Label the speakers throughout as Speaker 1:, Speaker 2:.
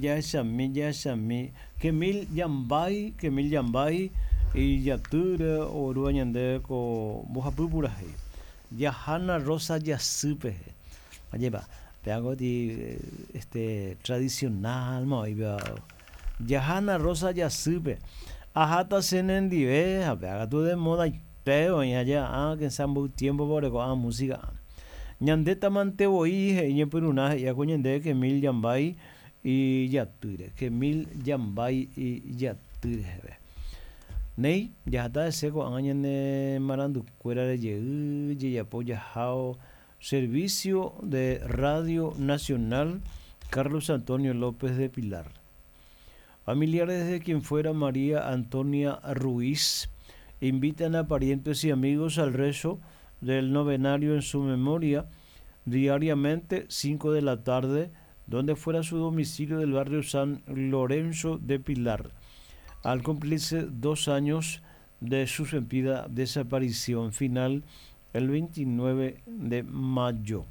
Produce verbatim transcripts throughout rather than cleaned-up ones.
Speaker 1: Jahechami, jahechami. Kemil Yambay, Kemil Yambay ijatýre oguerúva ñandéve ko mbohapy purahéi. Jahána Rosa jasýpe. Ajépa, pe ti este tradicional ma oĩva. Jahána Rosa jasýpe. Aháta che nendive ha péa katu de modaite oĩ aja que mboy tiempo oreko'ã música. Ñandétamante voi he'i ñepyrũrã he'i ko ñandéve Kemil Yambay ijatýre. Kemil Yambay ijatýre reheve. Néi jahata hese ko'ág̃a ñane marandukuérare jey jejapo jaháo Servicio de Radio Nacional Carlos Antonio López de Pilar. Familiares de quien fuera María Antonia Ruiz invitan a parientes y amigos al rezo del novenario en su memoria diariamente cinco de la tarde, donde fuera su domicilio del barrio San Lorenzo de Pilar, al cumplirse dos años de su sentida desaparición final el veintinueve de mayo.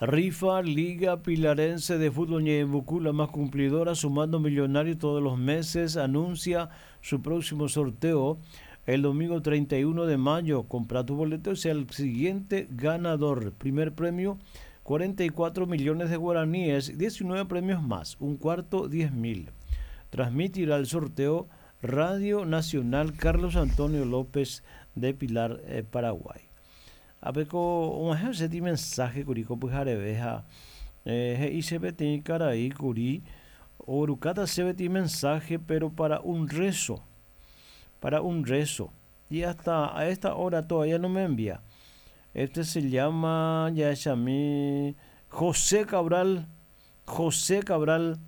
Speaker 1: Rifa Liga Pilarense de Fútbol Ñeembucú, la más cumplidora, sumando millonarios todos los meses, anuncia su próximo sorteo el domingo treinta y uno de mayo. Compra tu boleto y sea el siguiente ganador. Primer premio, cuarenta y cuatro millones de guaraníes, diecinueve premios más, un cuarto, diez mil. Transmitirá el sorteo Radio Nacional Carlos Antonio López de Pilar, eh, Paraguay. Apeko omahe seti mensaje kuri ko pyhareve eh, he'i che peteĩ karai kuri orukata chéve mensaje, pero para un rezo, para un rezo, y hasta a esta hora todavía no me envía. Este se llama, ya es a mí, José Cabral. José Cabral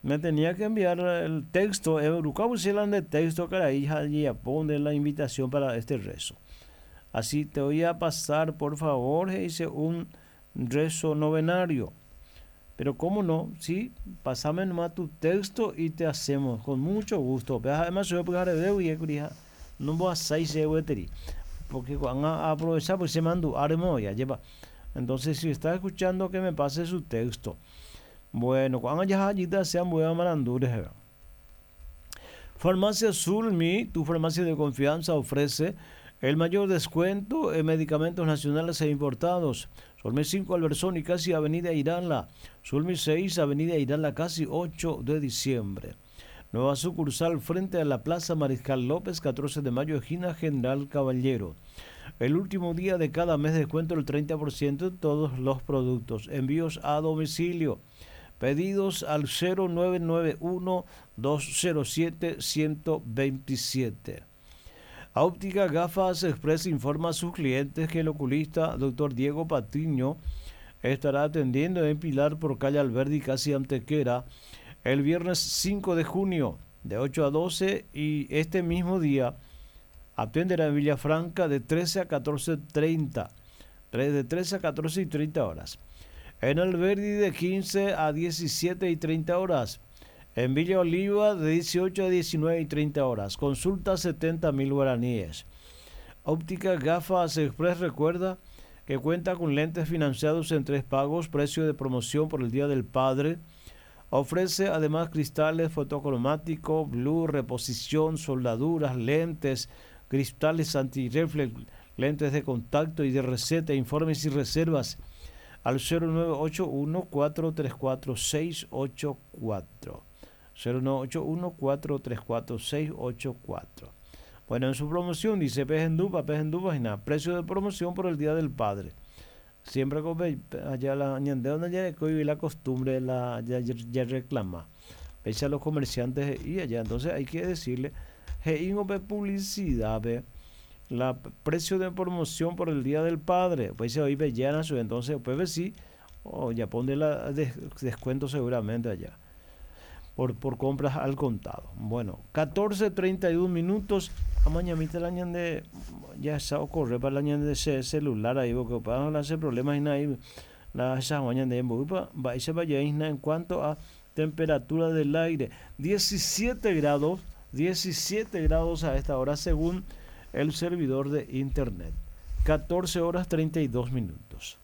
Speaker 1: me tenía que enviar el texto, de texto karai ya pone la invitación para este rezo. Así te voy a pasar, por favor, hice un rezo novenario. Pero cómo no, sí, pásame nomás tu texto y te hacemos con mucho gusto. Además, yo voy a y no voy a seis porque van a aprovechar, pues se mandó armo ya lleva. Entonces, si está escuchando, que me pase su texto. Bueno, cuando ya allí sean buenas marandures. Farmacia Zulmi, tu farmacia de confianza, ofrece el mayor descuento en medicamentos nacionales e importados. Zulmi cinco, Albertsoni, casi Avenida Irala. Zulmi seis, Avenida Irala, casi ocho de diciembre. Nueva sucursal frente a la Plaza Mariscal López, catorce de mayo, esquina General Caballero. El último día de cada mes descuento el treinta por ciento de todos los productos. Envíos a domicilio. Pedidos al cero nueve nueve uno, dos cero siete, ciento veintisiete. Óptica Gafas Express informa a sus clientes que el oculista doctor Diego Patiño estará atendiendo en Pilar por calle Alberdi, casi Antequera, el viernes cinco de junio de ocho a doce, y este mismo día atenderá en Villafranca de trece a catorce treinta, de trece a catorce y treinta horas. En Alberdi de quince a diecisiete y treinta horas. En Villa Oliva de dieciocho a diecinueve y treinta horas. Consulta setenta mil guaraníes. Óptica Gafas Express recuerda que cuenta con lentes financiados en tres pagos, precio de promoción por el Día del Padre. Ofrece además cristales fotocromáticos, blue, reposición, soldaduras, lentes, cristales antirreflex, lentes de contacto y de receta, informes y reservas al cero nueve ocho uno, cuatro tres cuatro, seis ocho cuatro. cero nueve ocho uno, cuatro tres cuatro, seis ocho cuatro. Bueno, en su promoción dice Pejendupa, Pejendupa, y nada, precio de promoción por el Día del Padre. Siempre con allá la ñande donde ya y la costumbre la ya, ya, ya reclama. Pese a los comerciantes y allá, entonces hay que decirle, hey, publicidad, ve, la precio de promoción por el Día del Padre, pues se hoy bellana su, entonces pues sí, o ya pone la des, descuento seguramente allá. Por, por compras al contado. Bueno, catorce treinta y un minutos. A mañana la ñande ya se ocurre para la ñande ese celular ahí, porque para no hacer problemas y nada, la esa mañana de va, va, se vaya en cuanto a temperatura del aire, diecisiete grados, diecisiete grados a esta hora según el servidor de internet. catorce horas treinta y dos minutos.